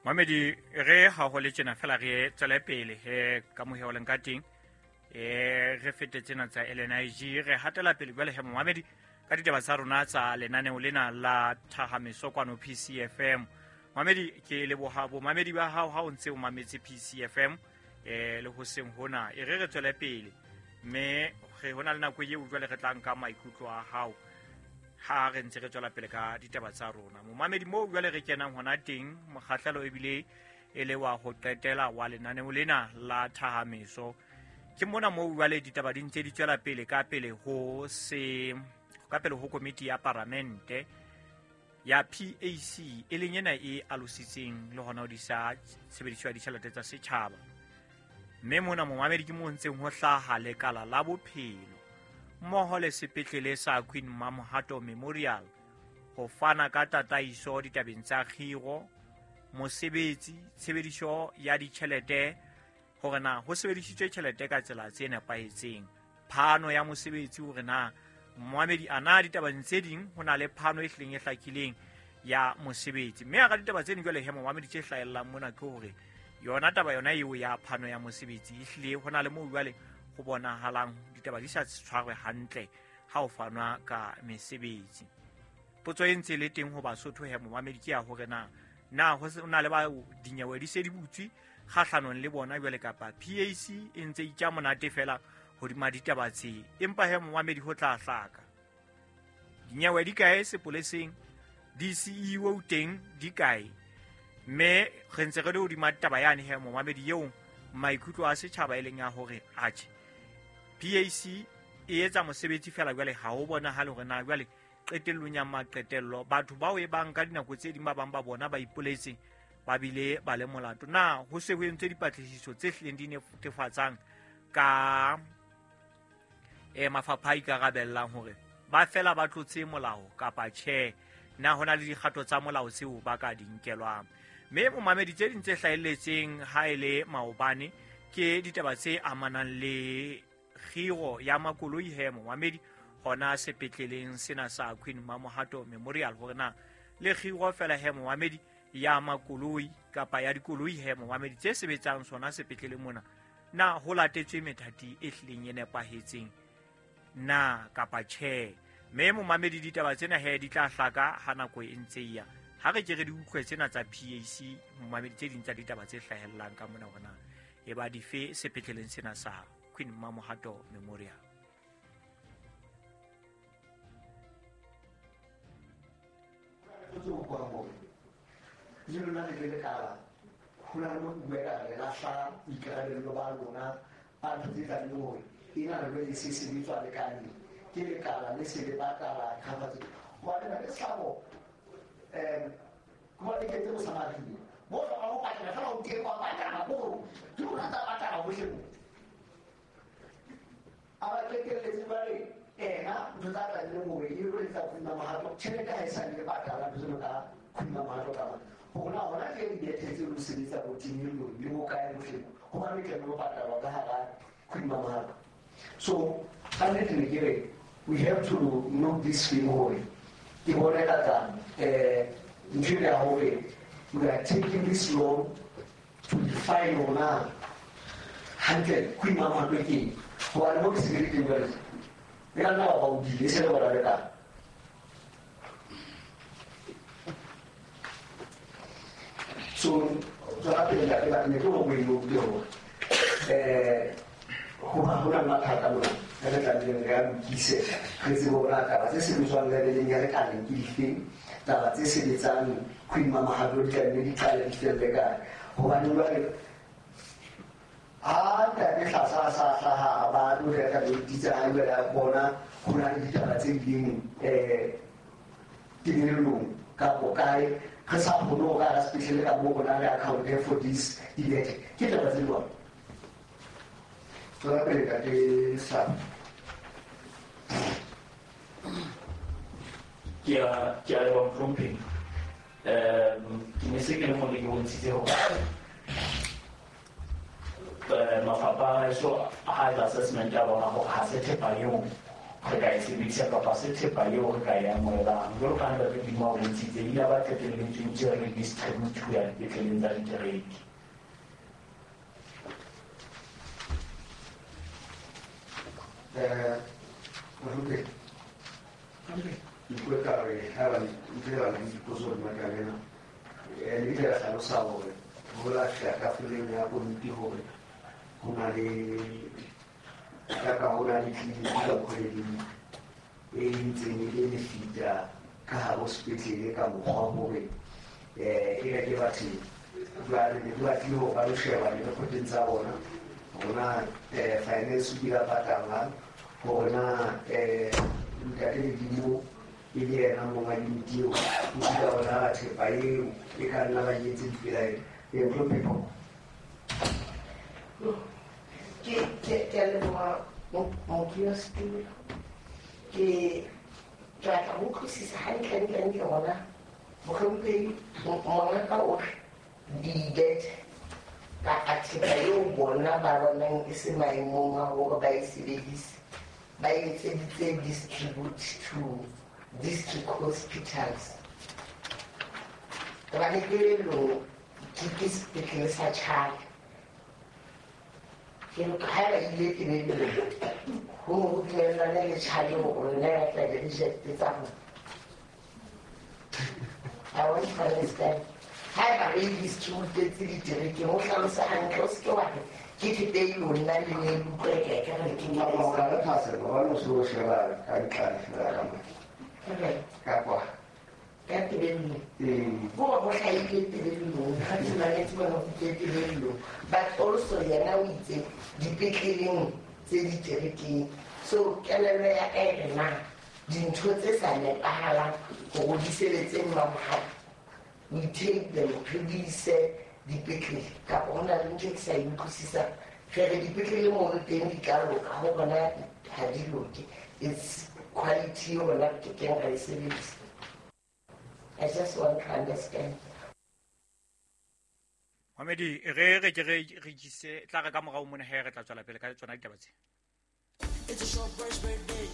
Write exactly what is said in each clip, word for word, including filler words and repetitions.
Mamedi re ha ho le tjena fela re tswele pele he ka moheho leng ka teng e re fete tsena tsa L N I G re hatela pele jwale he momamedi ka ditaba tsa rona tsa lenaneo lena la Thahameso kwano P C F M. Mamedi ke leboha bo mamedi ba hao ha o ntse o mametse P C F M eh le hoseng hona e re re tswele pele mme re hona le nako eo jwale re tla nka maikutlo a hao ha re ntse re tswela pele ka ditaba tsa rona. Momamedi moo jwale re kenang hona teng mokgahlelo ebile e le wa ho qetela wa lenaneo lena la Thahameso. Ke mona moo jwale ditaba di ntse di tswela pele ka pele ho se ka pele ho komiti ya paramente ya P A C e leng ena e alositseng le hona ho disa tshebediso ya ditjhelete tsa setjhaba. Mme mona momamedi ke mo ntseng ho hlaha lekala la bophelo mmoho le sepetlele sa Queen Mamohato Memorial ho fana ka tataiso ditabeng tsa kgiro, mosebetsi, tshebediso ya ditjhelete hore na ho sebedisitswe tjhelete ka tsela tse nepahetseng, phano ya mosebetsi hore na momamedi ana ditabeng tse ding ho na le phano e hlileng e hlakileng ya mosebetsi. Mme hara ditaba tse ding jwale he momamedi tse hlahellang mona ke hore yona taba yona eo ya phano ya mosebetsi e hlile ho na le moo jwale ho bonahalang ditaba di sa tshwarwe hantle ha ho fanwa ka mesebetsi. Potso e ntse le teng ho Basotho he momamedi ke ya hore na na ho na le ba dinyewe di se di butswe kgahlanong le bona jwale kapa P A C e ntse itja monate fela hodima ditaba tse, empa he momamedi ho tla hlaka dinyewe di kae sepoleseng, D C E O teng di kae, mme re ntse re le hodima taba yane he momamedi eo maikutlo a setjhaba e leng ya hore atjhe P A C e etsa mosebetsi fela jwale ha ho bonahale hore na jwale qetellong ya maqetello batho bao e bang ka dinako tse ding ba bang ba bona ba ipoletse ba bile ba le molato. Na ho se ho entswe dipatlisiso tse hlileng di netefatsang ka e mafapha a ikarabellang hore ba fela ba tlotse molao kapa tjhe, na hona le dikgato tsa molao tseo ba ka di nkelwang. Mme momamedi tse ding tse hlahelletseng ha e le maobane ke ditaba tse amanang le kgiro ya makoloi he momamedi hona sepetleleng sena sa Queen Mamohato Memorial hore na le kgiro fela he momamedi ya makoloi kapa ya dikoloi he momamedi tse sebetsang sona sepetleleng mona na ho latetswe methati e hlileng e nepahetseng na kapa tjhe. Mme momamedi ditaba tsena he di tla hlaka ha nako e ntse e ya. Ha re ke re di utlwe tsena tsa P A C momamedi tse ding tsa ditaba tse hlahellang ka mona hore na e ba dife sepetleleng sena sa Queen Mamohato Memorial. Le lona le le lekala ho na le mo bua le lahla boikarabelo ba lona ba ntho tse tlamehileng hore ena le le se sebetswa lekaleng ke lekala le se le patala cover hobane na le tlhabo um hobane ke tse Mosamaria mo hlokang ho patala fela o teng wa patala bo ke rona tsa patala hohle mo a ba qetelletse ba re ena ntho tsa tlamehileng hore e lo etsa Queen Mamohato tjhelete ha e sa le patala ntho tseno ka Queen Mamohato ka hore hona ke dibethe tse lo sebetsa bo timelong le ho kae bohle hobane ke tlamehile ho patalwa ka hara Queen Mamohato. So ka nnete ne ke re we have to know this thing hore ke bona ka tsa eh ntho ya hore we are taking this long to define rona hantle Queen Mamohato ke eng hobane mo ke se ke teng jwale le ka nna wa ba o dile se le bona le ka so tswela pele ntate ba ne ke go buile le hore eh ho ba hona mathata mona re tlamehileng re a lokise re tsebe hore na taba tse sebetswang leveleng ya lekaleng ke difeng, taba tse sebetsang Queen Mamohato di tlamehile di qale di felle kae hobane jwale ha ntate Hlasa a sa hlaha a ba tlo reka ditsa hae jwale a bona ho na le ditaba tse ding um timelong kapo kae re sa kgone ho ka hara sepetlele ka moo rona re account for this dibethe ke taba tse jwang. Tswela pele ntate Hlasa. Ke a ke a leboha mohlomphehi. Um ke ne se ke le mona ke bontshitse hore mafapha a heso ha etsa assessment ya bona hore ha se thepa eo re ka e sebedisa kapa se thepa eo re ka e amohelang. Jwalo ka ha Ntate Dimo a bontshitse, e ile ba qetelletse ntse re distribute ho ya dipetleleng tsa ditereke. Eh, Mohlomphehi, ke ka re ha ba ntse ba le dipotso le makalena. Eh, le ile la hlalosa hore ho la fihla tafoleng ya komiti hore ho na le ka ho na le tleliniki ka kgweding e ntseng e le lefita ka hare ho sepetlele ka mokgwa hore eh e ke batho jwale ne ke batlile hore ba lo sheba le lekgotleng tsa bona hore na eh finance o kile a patalwa, hore na eh Ntate Ledimo e le yena monga unit eo, o kile a bona thepa eo e ka nna ba e etse dipelaelo. Ee, Mohlomphehi. Ke ke ke a leboha modulasetulo. Ke batla ho utlwisisa hantle hantle hona mohlomphehi mongaka o re dibethe kapa thepa eo bona ba bonang e se maemong a hore ba e sebedise, ba e etseditse distribute to district hospitals. Hobane kelellong ke ke sepetlele sa Tjhale. Ke haeba ile tebelong ho ne ho dumellane le Tjhale hore nna ya tla be reject tsa rona. I want to understand. Haeba re e distributetse diterekeng, o hlalosa hantle, o se ke wa re ke thepa eo nna le ne le utlwa e kae ka re ke O ka re thahasello hobane o so sheba ka ntlane feela ka mane. Ka kwa. Ka tebellong. Ee. Hore ho hlahile tebellong, ha ke mametse bona ho tlile tebellong. But also yena o itse dipetleleng tse diterekeng. So kelello ya ka e re na dintho tse sa nepahalang hore di sebetse Mamohato, we take them re di ise dipetlele kapa ho na le ntho e ke sa e utlwisisang. Re re dipetlele mono teng di tla loka, ho bona ha di loke. It's quality eo rona re kekeng ra e sebedisa. I just want to understand. Mamedi, re re ke re re jise tla re ka morao mona he re tla tswela pele ka tsona ditaba tse. It's a ShopRite's birthday.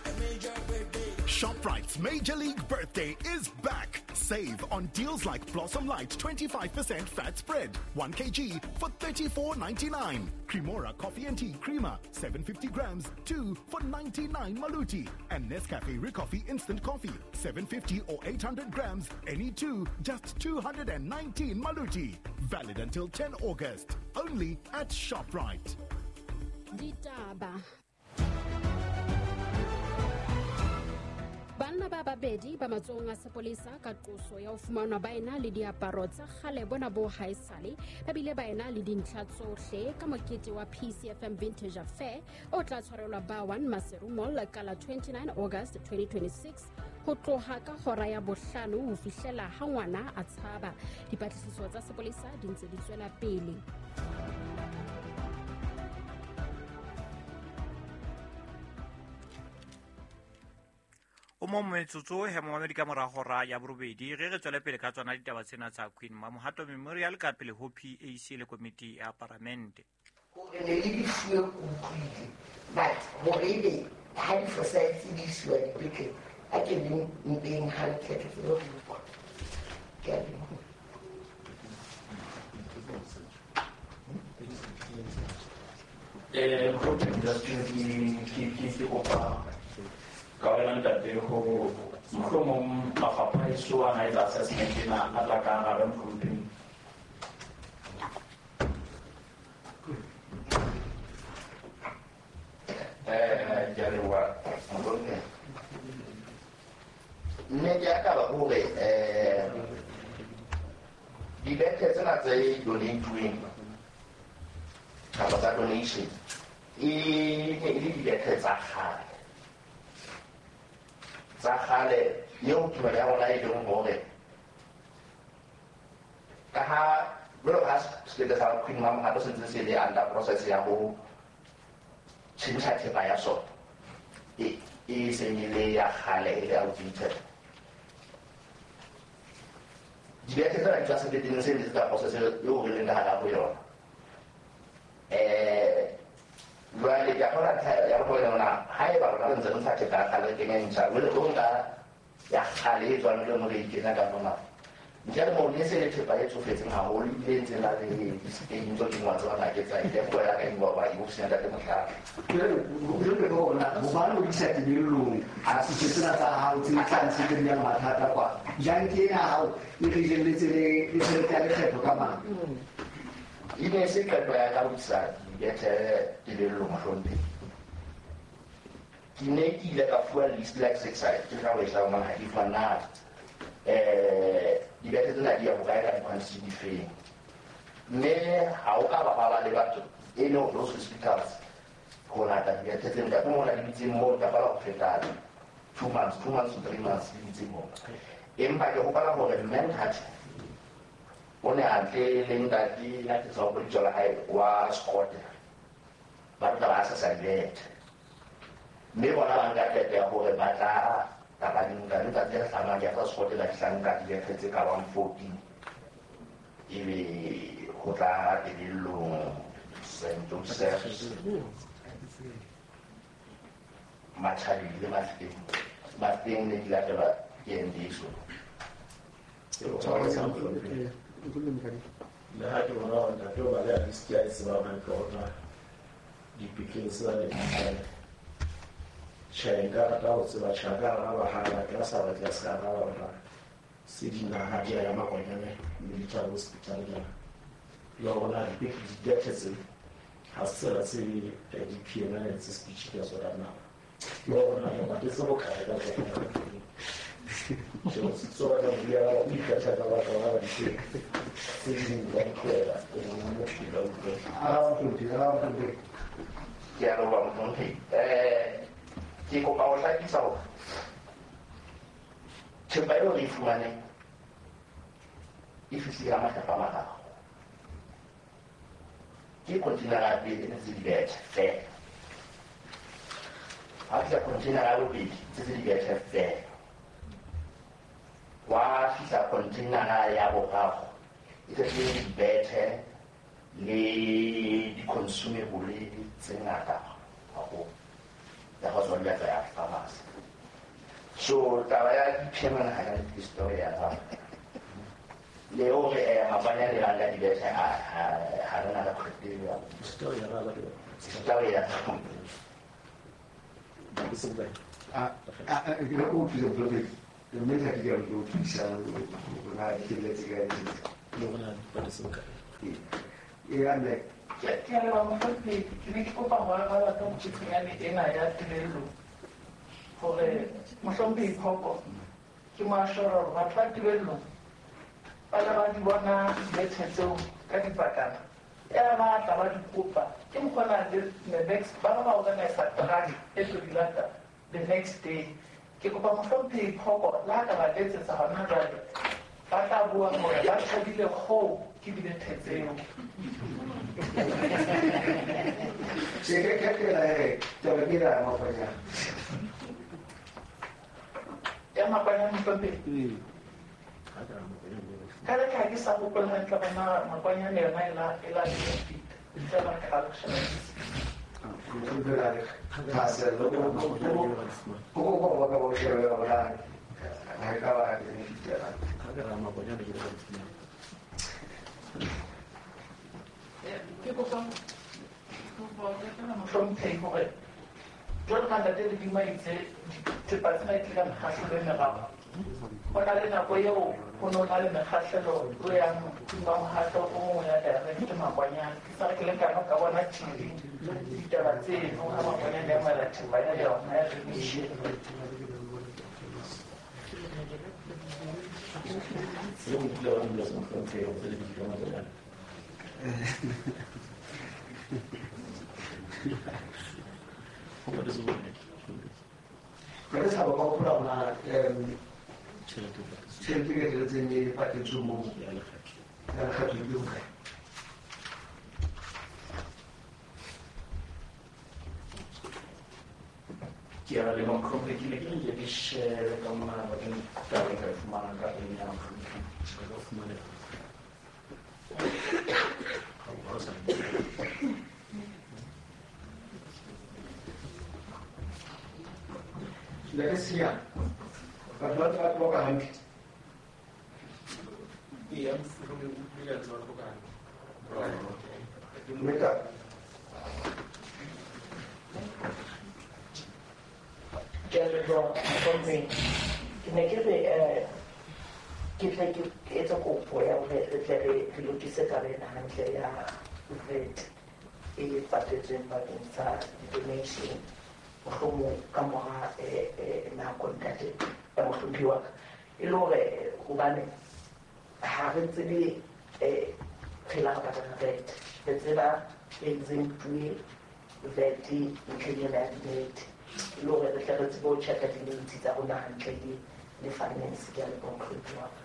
A major birthday. ShopRite's Major League Birthday is back. Save on deals like Blossom Light twenty-five percent fat spread, one kilogram for thirty-four ninety-nine. Cremora Coffee and Tea Creamer, seven hundred fifty grams, two for ninety-nine Maluti. And Nescafe Ricoffee Instant Coffee, seven hundred fifty or eight hundred grams, any two, just two hundred nineteen Maluti. Valid until tenth August. Only at ShopRite. Ditaba. Banna ba babedi ba matsohong a sepolesa ka qoso ya ho fumanwa ba ena le diaparo tsa kgale bona bo haesale, ba bile ba ena le dintlha tsohle ka mokete wa P C F M Vintage Affair o tla tshwarelwa ba one Maseru Mall ka la twenty-nine August twenty twenty-six ho tloha ka hora ya bohlano ho fihlela ha ngwana a tshaba. Dipatlisiso tsa sepolesa di ntse di tswela pele. O mo metsotso he momamedi ka mora hora ya borobedi re re tswele pele ka tsona ditaba tsena tsa Queen Mamohato Memorial ka pele ho P A C le komiti ya paramente. Hore ne le di fuwe ke utlwile, but hore ebe ha di fosahetse di isiwa dipetlele, a ke le mpeng hantle ke tsebe ho utlwa. Ke a leboha. Eh, Mohlomphehi, just ke ke ke kopa ka wena ntate ho mohlomong mafapha a eso a na etsa assessment ena a tla ka arabe mohlomphehi. Eh, ke a leboha mohlomphehi. Nnete ya taba hore eh dibethe tsena tse donate-weng kapa tsa donation e ne e le dibethe tsa kgale. Tsa kgale eo tumelo ya rona e leng hore ka ha jwalo ka ha sepetlele sa Queen Mamohato se ntse se le under process ya ho tjhentjha thepa ya sona e e seng e le ya kgale e le outdated. Dibethe tsena di tswa sepetleleng se ntse tsa process eo re leng ka hara ho yona. Eh jwale ke a kgona ntlha ya bohlokwa yona ha Haeba rona re ntse re ntsha thepa ya kgale re kenya e ntjha, jwale o nka ya kgale e tswang le nngwe re e kenya ka mona. Ntle le moo ne se le thepa e tsofetseng haholo ebile e ntse na le di-stain tse ding wa tseba na ke tsa eng, puo ya ka e bua hoba e ofising ya ntate Mohlala. Jwale jwale ke hore na hobane o di isa tebellong, a se tsena tsa hao tse tlang tse di yang mathata kwa. Jang ke ena hao e re jelletse le le tjhelete ya lekgetho ka mang? E ne se qeto ya ka ho isa dibethe tebellong mohlomphehi. Ke ne ke ile ka fuwa list like six ke ka ho e hlahang ha ke fuwa na eh dibethe tsena di ya hokae ka di-quantity di feng. Mme ha o ka ba ba le batho any of those hospitals ho lata dibethe tseno ntate mona di dutse moo ka bala ho feta two months, two months to three months di dutse moo. Empa ke hopola hore Manhart o ne a tle le ntate ya ke sa hopole lebitso la hae wa Scott, ba tla ba sa dibethe. Mme bona ba nka qeto ya hore ba tla kapa di nka letsatsi le hlahlamang ke ya tsa Scott ba fihla nka dibethe tse ka bang fourteen ebe ho tla tebellong Saint Joseph Matjhabeng le Mafikeng. Mafikeng ne di latelwa ke N D S O. Le ha ke bona hore ntate o ba le a list ya e tsebang hantle hore na dipetlele tsena ne di kae. Tjhe, nka rata ho tseba tjhe, a ka araba ha a batla, a sa batle a se ka araba hore na se dinaha di ya ya Makwanyane Military Hospital na. Le hore na dibethe tse ha se tsela tse di-P M N tse speech ka tsona na. Le hore na le patetse bokae ka tsona. Tjhe, o se batla ho bua o ikgetha ka batho ba ba di tse ding ba di tlohela, o bona motho ba utlwe. Araba mohlomphehi, araba mohlomphehi. Ke a leboha mohlomphehi. Eh ke kopa ho hlakisa hore thepa eo re e fumaneng e fihlile ka makgetlo a mararo. Ke container ya pele e ntse dibethe feela. Ha fihla container ya bobedi tse tse dibethe feela. Wa fihla container ya boraro e tletse dibethe le di-consumable tse ngata haholo. Ya go tswa di batla ya pharmacy. So taba ya di-P M N ha ka le story ya ka. Le hore eh Makwanyane le bang ka dibethe ha ha re na record ya Story ya ba ke. Story ya. Ke se bokae? A a ke le o thusa mohlomphehi. Mme ha ke ke o thusa hore na di tebelletse kae. Le hore na di patetse bokae? E ya mme Ke a leboha mohlomphehi. Ke ne ke kopa ho araba ka mokgutshwanyane ena ya tebello hore mohlomphehi Phoko ke mo assure hore batho ba tebellong ba ne ba di bona dibethe tseo ka dipakana. Ya ba tla ba di kopa. Ke mokgwa na le the next ba ba organize truck e tlo di lata the next day. Ke kopa mohlomphehi Phoko le ha ka ba letsetsa hona jwale ba tla bua hore ba thabile kgoo ke dibethe tseo. Tjhe, ke ke ke la e taba ke la Makwanyane. Ya Makwanyane mohlomphehi. Ka le ka ke sa hopola hantle bona Makwanyane yona e la e la benefit. Ntle ba ka lo sheba. Mohlomphehi a re thahasello ko ko ko ba ka bo shebe hore na ha e ka ba benefit ya. Ha ke ra Makwanyane ke ba di Ke kopa mohlomphehi hore jwalo ka ntate Ledimo a itse thepa tsena e tlile ka mekgahlelo e meraro. Ho na le nako eo ho no na le mekgahlelo o yang wa mohato o mong ya direct Makwanyane. Ke sa re ke le ka ka bona T V ditaba tseno ha Makwanyane a amohela thepa ya yona ya donation. Le o dula wa dula mohlomphehi o le bitso Makwanyane. Ho patetse bokae? Ke re sa ba hopola hore na Tjhelete e patetsweng. Tjhelete e tjhelete e patetsweng moo ya lekgetho. Ya lekgetho ke bokae? Ke a leboha mohlomphehi. Ke ne ke re nke ke shebe ka mona bakeng taba e ka e fumanang ka pele ya mohlomphehi. Re ka fumaneha. Ha o sa Ntate Senyane, batho ba ntse ba tloka hantle. Ee, re utlwile ntse ba tloka hantle. Mme ka Ke a leboha, mohlomphehi. Ke ne ke re um ke tle ke etse kopo ya hore re tle re re lokise taba ena hantle ya V A T e patetsweng bakeng sa di-donation, mohlomong ka mora eh, eh, nako, ntate ya mohlomphehi wa ka, e le hore hobane ha re tsebe um re la re patala V A T, re tseba exemptuwe V A T ntlheng ena ya di-V A T, e le hore re tle re tsebe ho check-a di-notes tsa rona hantle le le finance. Ke a leboha, mohlomphehi wa ka.